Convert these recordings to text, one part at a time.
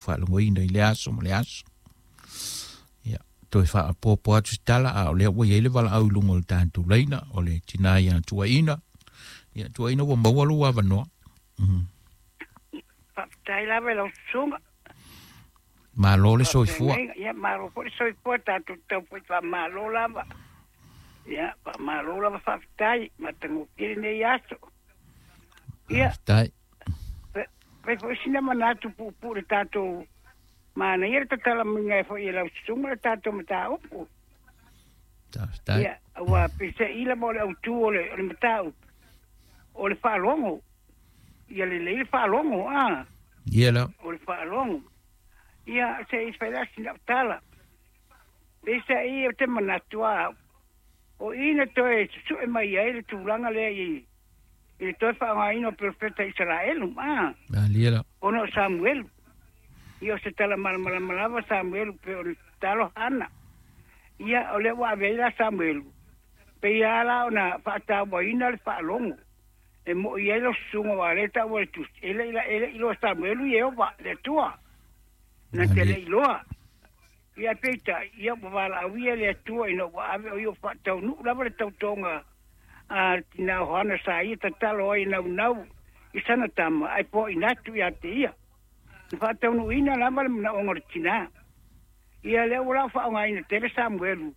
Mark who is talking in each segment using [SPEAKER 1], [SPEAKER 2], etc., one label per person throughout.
[SPEAKER 1] Faalogoina i le aso ma le aso. Ia, toe faapopo atu se tala, a o lea ua i ai le valaau i luga o le tatou laina, o le tina ia Tuaina. Ia, Tuaina, ua maua lou avanoa.
[SPEAKER 2] Faafetai lava i lau susuga.
[SPEAKER 1] Malo le soifua.
[SPEAKER 2] Ia, malo foi le soifua, tatou tau foi faamalo lava. Ia, faamalo lava, faafetai, matagofie lenei aso. Ia,
[SPEAKER 1] Faafetai.
[SPEAKER 2] Fai foi sina manatu puupuu le tatou manaia le tatala maiga e foi e lau susuga le tatou mataupu.
[SPEAKER 1] Faafetai.
[SPEAKER 2] Ia, ua peiseai lava o le autu o le mataupu, o le faalogo. Ia lelei le faalogo, a.
[SPEAKER 1] Ia la.
[SPEAKER 2] O le faalogo. Ia, se i fai la sina tala. Peiseai o te manatu a, o i na toe susue mai ai le tulaga lea i le toe faaaogaina o perofeta Isaraelu, a.
[SPEAKER 1] Malie la.
[SPEAKER 2] Ona o Samuelu. Ia, o se tala malamalama lava Samuelu pe o le talo Hana. Ia, o lea ua ave ai la Samuelu. Pe ia la ona faatauaina le faalogo. E mo i ai lo susuga wa le taua le tusi. E le ila e le iloa Samuelu Ieova le Atua. Na te le iloa. Ia peita, ia ua valaauia le Atua ina ua ave o ia faataunuu lava le tautoga a le tina o Hana sa ia tatalo ai naunau i sana tama ai po inatu ia te ia. Na faataunuuina lava le manaoga o le tina. Ia lea ua lau faaaogaina tele Samuelu.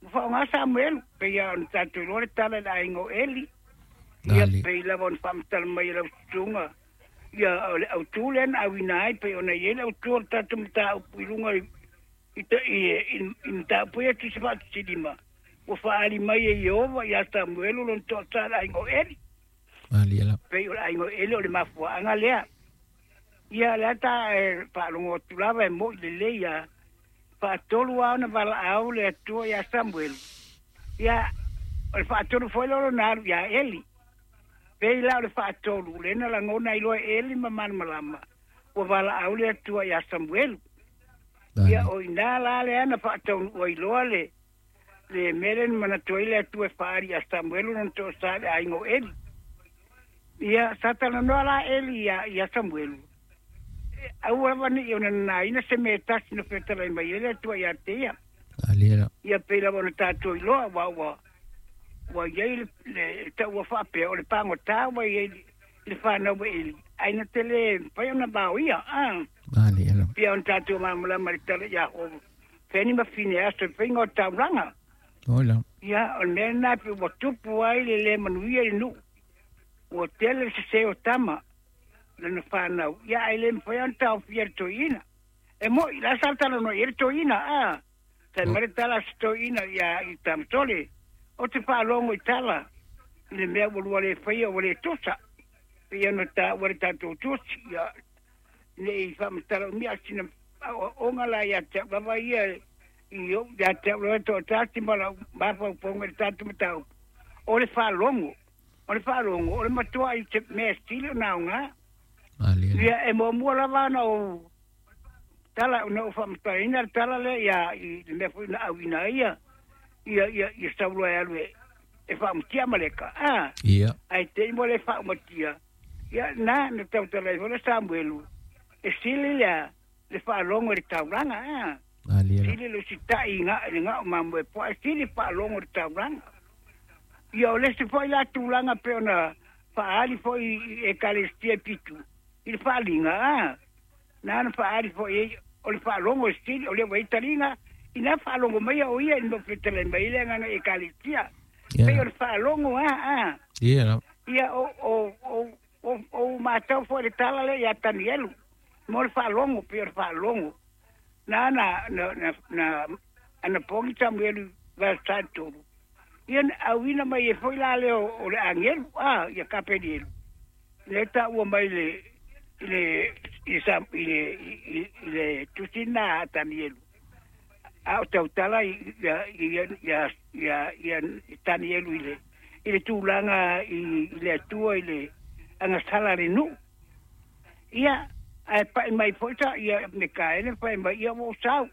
[SPEAKER 2] Ua faaaoga Samuelu, pe ia ona tatou iloa le tala i le aiga o Eli. Ia pei lava ona faamatala mai e lau susuga. Ia o le autu lea na auina ai pei ona i ai le autu o le tatou mataupu i luga i mataupu ia tusi faatusilima. Ua faaali mai e Ieova ia Samuelu lona toasa le aiga o Eli.
[SPEAKER 1] Malie la.
[SPEAKER 2] Pei o le aiga o Eli o le mafuaaga lea. Ia lea ta e faalogo atu lava e moi lelei a. Faatolu lava ona valaau le Atua ia Samuelu. Ia, o le faatolu foi lea o lona alu ia Eli. Pei la o le faatolu, lea na lagona ai loa e Eli ma malamalama, ua valaau le Atua ia Samuelu. Ia, o ina la lea na faataunuu ai loa le mea lea na manatu ai le Atua e faaali ia Samuelu lona toasa i le aiga o Eli. Ia, sa talanoa la Eli ia Samuelu. Aua lava nei ona nanaina se mea e tasi na fetalai mai ai le Atua ia te ia.
[SPEAKER 1] Malie la.
[SPEAKER 2] Ia pei lava ona tatou iloa ua i ai le taua faapea o le pagota ua i ai le fanau a Eli. Ai na te le mafai ona vaoia. Ah.
[SPEAKER 1] Malie la.
[SPEAKER 2] Pia ona tatou malamalama i le tala ia Hofeni ma Fineaso i faiga o taulaga.
[SPEAKER 1] Ola.
[SPEAKER 2] Ia, o le mea lena pe ua tupu ai le le manuia i le nuu. Ua tele le sese o tama lana fanau. Ia, ai le mafai ona taofia le toeaina. E moi, la sa talanoa i ai le toeaina, a. Fai mai le tala a se toeaina ia i Tamasole. O te faalogo i tala i le mea ua lua le faia ua le tusa. Pei ona taua le tatou tusi. Ia, nei faamatala umia sina aoaoga la ia te au lava ia i ou ia te au lava toatasi ma lau mafaufauga i le tatou mataupu. O le faalogo, o le faalogo, o le matua i se mea sili ona aoga.
[SPEAKER 1] Malie la.
[SPEAKER 2] Ia, e muamua lava ona ou tala ona ou faamatalaina le tala lea ia i le mea foi na auina ai ia Saulo e alu e faaumatia Amaleka. Ah,
[SPEAKER 1] Ia.
[SPEAKER 2] ai te i mo le faaumatia. Ia, na tautala ai foi le Samuelu. E sili lea le faalogo i le taulaga, ah.
[SPEAKER 1] Malie la.
[SPEAKER 2] Sili le usitai i le gao mamoe po e sili faalogo i le taulaga. Ia, o le isi foi la tulaga pe ona faaali foi i ekalesia pitu i le faaliga, ah. Na faaali foi ai o le faalogo e sili o lea ua i taliga ina faalogo mai o ia i le fetalai mai le agaga ekalesia.
[SPEAKER 1] Ia.
[SPEAKER 2] Pei o le faalogo, ah, ah.
[SPEAKER 1] Ia la.
[SPEAKER 2] Ia, o matau foi le tala lea ia Tanielu mo le faalogo, pei o le faalogo. Na na na na, na ana pogi Samuelu verse 3. Ia na auina mai e foi la lea o le agelu, ah, ia Kapenielu. Le taua mai le i le i sa i le i le tusi na a Tanielu. A o tautala i ia ia ia ia ia Tanielu i le tulaga i le Atua i le agasala le nuu. Ia, ae pai mai foi sa ia Mikaele pai mai ia ua sau.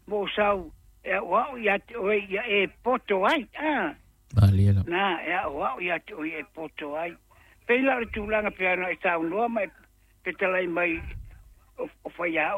[SPEAKER 2] Ua sau e au au ia te oe ia e poto ai. Ah,
[SPEAKER 1] Malie la.
[SPEAKER 2] na e au au ia te oe e poto ai. Pei la o le tulaga pe ana e saunoa mai petalai mai. O faiaoga.